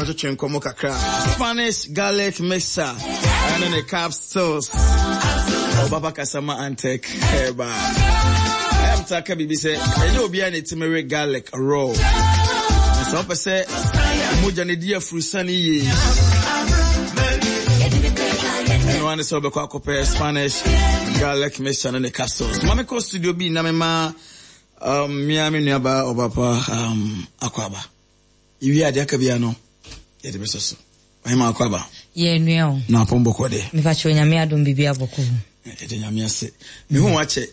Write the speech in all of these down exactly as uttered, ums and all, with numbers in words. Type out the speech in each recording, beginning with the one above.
Yɛnkɔtwetwe nkɔmmɔ kakra. Spanish garlic mixture ɛne ne capsules. Ɔbaba Kasama Antec Herbal. Ɛyɛ mta ka biribi sɛ ɛnyɛ obiara na ɛtumi we garlic raw. Na sɛ wopɛ sɛ mogya no di afurusane yie, ɛno ara ne sɛ wobɛkɔ akɔpɛ Spanish garlic mixture ne ne capsules. Ma mekɔ studio bi na mema um, mea me nuabaa ɔbapa um, akɔ aba. Iwie adeɛ aka bia no, yɛde bɛsɔ so. Ɔhema, akɔ aba. Yɛ nua o. Na apɔn bɔkɔ deɛ? Mepakyɛ, Onyame adom, biribi abɔkɔ. Ɛde Nyame ase. Mehu wakyɛ.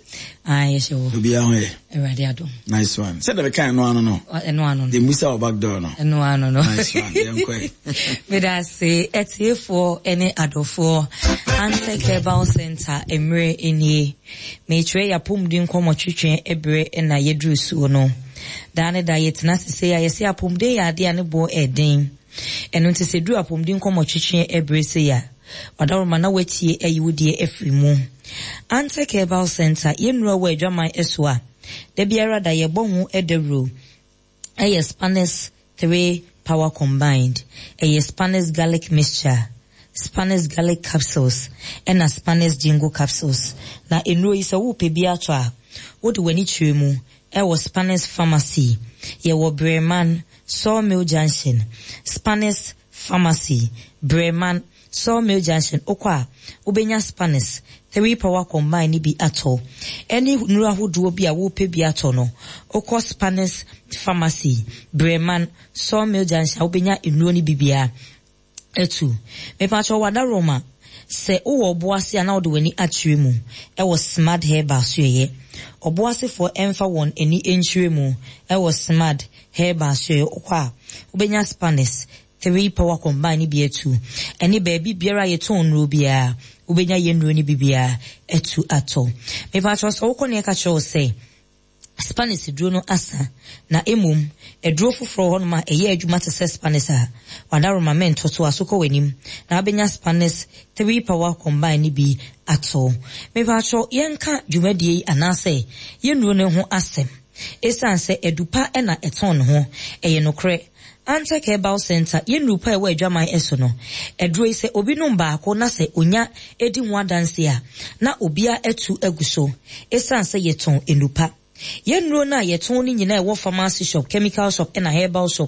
Ah, yɛhyɛ wɔ. Obiara ho yɛ? Awurade adom. Nice one. Sɛ dɛm kan ɛno ano no. Ɛno ano no. De musa wɔ back door no. Ɛno ano no. Nice one. Yɛnkɔ. Meda ase, atiefoɔ ne adɔfoɔ. Antec Herbal Center mmerɛ nie. Mekyerɛ yɛ apɔmuden nkɔmmɔtwetwe berɛ na yɛduru soɔ no. Daa ne da yɛtena sese a yɛsɛ apɔmuden yɛ adeɛ a ne boɔ ɛden. Ɛno nti sɛ duru apɔmuden nkɔmmɔtwetwe berɛ sei a, ɔdaworoma na watie ayi wo deɛ afiri mu. Antec Herbal Center, yɛnnura wɔ adwaman so a, da biara da yɛbɔ ho dawuro. Ɛyɛ Spanish three power combined. Ɛyɛ Spanish garlic mixture, Spanish garlic capsules, ɛna Spanish ginkgo capsules. Na nnuro yi, sɛ wopɛ bi atɔ a, wode w'ani kyerɛ mu ɛwɔ Spanish Pharmacy. Yɛwɔ Breman Sawmill Junction. Spanish Pharmacy, Breman Sawmill Junction. Wokɔ a, wobɛnya Spanish three power combine ne bi atɔ. Ɛne nnuro ahodoɔ bi a wopɛ bi atɔ no, wokɔ Spanish Pharmacy, Breman Sawmill Junction a, wobɛnya nnuro no bi biara atu. Mepakyɛ, wada Roma sɛ wowɔ Ɔboase a, na wode w'ani akyerɛ mu ɛwɔ Smart Herbal so. Yɛyɛ Ɔboasefoɔ ɛmfa wɔn ani nkyerɛ mu ɛwɔ Smart Herbal so. Yɛyɛ wokɔ a, wobɛnya Spanish three power combine ne bi atu. Ɛne baabi biara a yɛtɔn nnuro biara, wobɛnya yɛn nnuro no bi biara atu atɔ. Mepakyɛ, sɛ wokɔ ne ɛka kyerɛ wo sɛ Spanish duro no asa, na emom aduro foforɔ hɔnom a ɛyɛ adwuma te sɛ Spanish a, wadaroma mɛnto so a, so kɔ w'anim na wabɛnya Spanish three power combine ne bi atɔ. Mepakyɛ, yɛnka dwumadie yi anaasɛ yɛnnuro no ho asɛm, ɛsiane sɛ adupa ɛna ɛtɔn ne ho. Ɛyɛ nokorɛ, Antec Herbal Center, yɛnnuru pa a ɛwɔ adwaman ɛso no, aduro yi, sɛ obi nom baako na sɛ onya edi ho adanse a, na obiara atu agu so, ɛsiane sɛ yɛtɔn nnupa. Yɛn nnuro no a yɛtɔn no nyinaa ɛwɔ pharmacy shop, chemical shop ɛna herbal shop.